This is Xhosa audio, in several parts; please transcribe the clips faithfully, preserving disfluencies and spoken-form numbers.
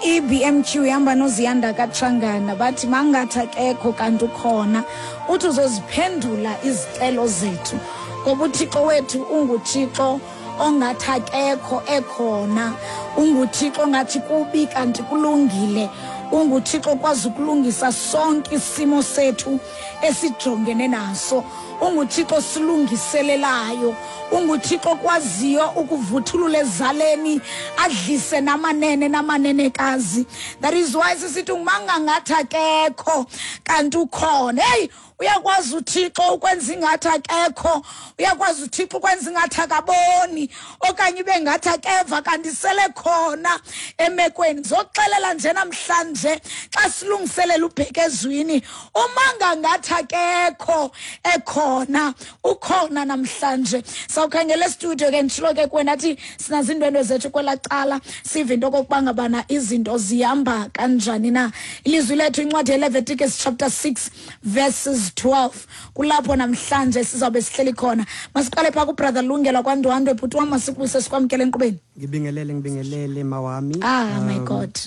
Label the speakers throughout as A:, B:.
A: I B M Q ihamba noZiyanda kaTshangana, bathi mangathi akekho kanti ukhona, uthi uzoziphendula izicelo zethu ngoba uThixo wethu unguThixo ongathi akekho ekhona, unguThixo ongathi kubi kanti kulungile, unguThixo okwazi ukulungisa sonke isimo sethu esijongene naso, unguThixo silungiselelayo, unguThixo okwaziyo ukuvuthulula ezaleni adlise namanene namanenekazi. That is why sisithi mangangathi akekho kanti ukhona. Hey, uyakwazi uThixo ukwenza ingathi akekho, uyakwazi uThixo ukwenza ingathi akaboni okanye ibe ngathi akeva kanti sele khona emekweni. Ngizoxelela nje namhlanje xa silungiselela ubheke ezwini, umangangathi akekho ekhona, ukhona namhlanje. Sawukhangela estudio ke nditshilo ke kuwena athi sinazo iindwendwe zethu kwelaa cala, sive into okokuba ngabana izinto zihamba kanjani na. Ilizwi lethu incwadi yeLeviticus chapter six verses twelve, kulapho namhlanje sizawube sihleli khona. Masiqale phaa kuBrother Lungelo kwaNdwandwe. Bhuti wam, masikubuse sikwamkele enkqubeni.
B: Ngibingelele, ngibingelele mawami.
A: Ah, my God.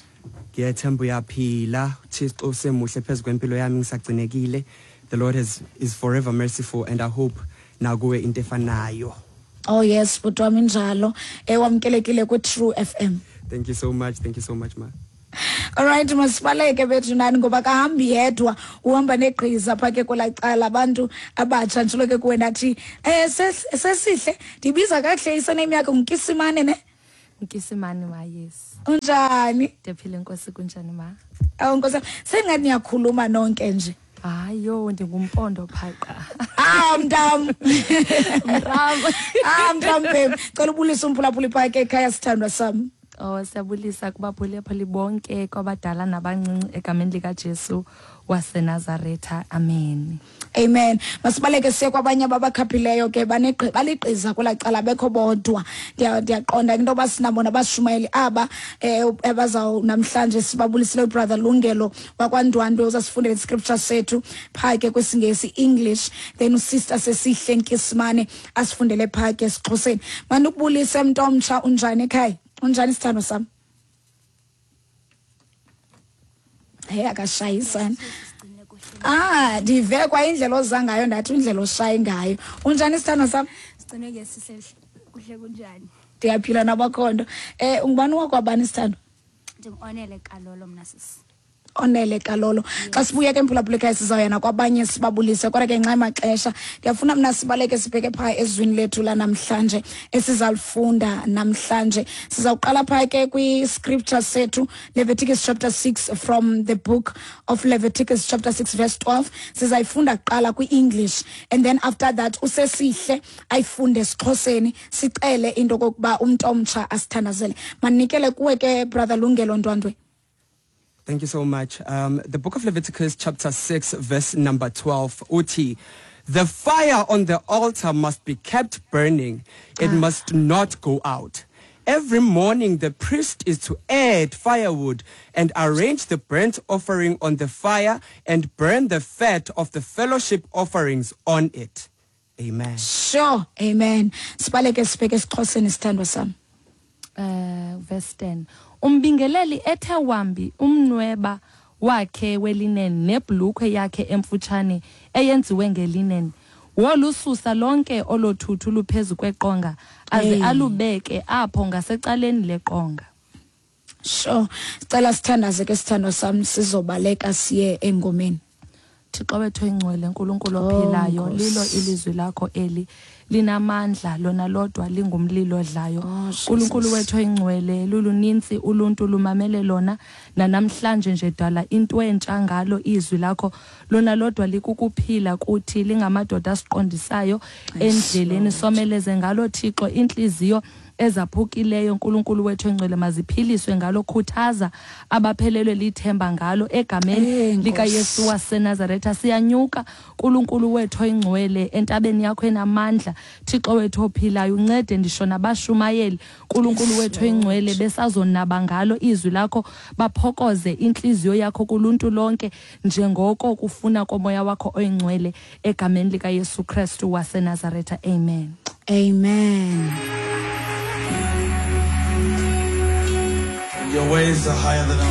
B: Ngiyathemba uyaphila. uThixo usemuhle phezu kwempilo yami, ngisagcinekile. The Lord has, is forever merciful and I hope nakuwe into efanayo.
A: Oh yes, bhuti wami, injalo. Eh, wamkelekile ku True F M.
B: Thank you so much. Thank you so much, ma.
A: All right, masibaleke bethu nani ngoba kahambi yedwa, uhamba negqiza pha ke kwelaa cala abantu abatsha. Nditshilo ke kuwe ndathi, eh, sesihle, ndibiza kakuhle isename yakho nguNkisimane ne?
C: Nkisimane ma, yes.
A: Unjani?
C: Ndiyaphila Nkosi, kunjani ma?
A: Awu Nkosi, sengathi niyakhuluma nonke nje.
C: Hayi yo, ndingumpondo phaqa.
A: Ah, mntam.
C: Mntam.
A: Ah, mntam babe. Cela ubulise umphulaphuli pha ke ekhaya sithandwa sam.
C: Oh, siyabulisa kubaphulaphuli bonke, kwabadala nabancinci egameni likaJesu waseNazaretha. Amen.
A: Amen. Masibaleke siye kwabanye ababakhaphileyo ke, baneqi baligqiza kwelaa cala bekho bodwa. Ndiyaqonda into yoba sinabo nabashumayeli aba, eh, abazaw namhlanje sibabulisile uBrother Lungelo wakwaNdwandwe uzasifundela iscripture sethu phaa ke kwisiNgesi English, then uSister Sesihle Nkisimane asifundele phaa ke esiXhoseni. Mandikubulise mntomtsha, unjani ekhaya? Unjani sithando sam? Hey, akashayisana. Ah, ndive kwa indlela oza ngayo ndathi indlela oshaye ngayo. Unjani sithando sam?
D: Sigcine ke sihle, kuhle kunjani?
A: Ndiyaphila nabakhondo. Eh, ungubani wakwabani sithando?
D: Ndingu-Onele Kalolo mna sisi.
A: Onele Kalolo. Xa sibuya ke mphulaphuli ekhaya sizawuya kwabanye sibabulise, kodwa ke ngenxa yamaxesha ndiyafuna mna sibaleke sibheke phaa ezwini lethu lanamhlanje esizalifunda namhlanje. Sizawuqala phaa ke kwi-scripture sethu Leviticus chapter six from the book of Leviticus chapter six verse twelve. Sizayifunda kuqala kwi-English and then after that uSesihle ayifunde esiXhoseni, sicele into okokuba umntu omtsha asithandazele. Manikele kuwe ke Brother Lungelo Ndwandwe.
B: Thank you so much. Um, the book of Leviticus chapter six verse number twelve. Uthi, the fire on the altar must be kept burning. It ah. must not go out. Every morning the priest is to add firewood and arrange the burnt offering on the fire and burn the fat of the fellowship offerings on it. Amen.
A: Sure. Amen. Sibaleke sibheke esiXhoseni sithandwa sam.
C: Uh, verse ten. Umbingeleli ethe wambi umnweba wakhe welinen nebhulukhwe yakhe emfutshane eyenziwe ngelinen, wolususa lonke olothuthu luphezu kweqonga aze alubeke apho ngasecaleni leqonga.
A: Sure. Sicela sithandaze ke sithandwa sam, sizobaleka siye engomeni.
C: Thixo wethu oyingcwele, uNkulunkulu ophilayo, lilo ilizwi lakho eli linamandla, lona lodwa lingumlilo odlayo. uNkulunkulu wethu oyingcwele, luluninzi uluntu lumamele lona nanamhlanje nje, dala into entsha ngalo izwi lakho, lona lodwa likukuphila kuthi, lingamadoda asiqondisayo endleleni. Someleze ngalo Thixo inhliziyo ezaphukileyo, uNkulunkulu wethu oyingcwele, maziphiliswe ngalo, khuthaza abaphelelwe lithemba ngalo egameni likaYesu waseNazaretha. Siyanyuka uNkulunkulu wethu oyingcwele entabeni yakho enamandla, Thixo wethu ophilayo, uncede ndisho nabashumayeli uNkulunkulu wethu oyingcwele besazonaba ngalo izwi lakho, baphokoze inhliziyo yakho kuluntu lonke njengoko kufuna komoya wakho oyingcwele egameni likaYesu Kristu waseNazaretha. Amen.
A: Amen.
E: Your ways are higher than our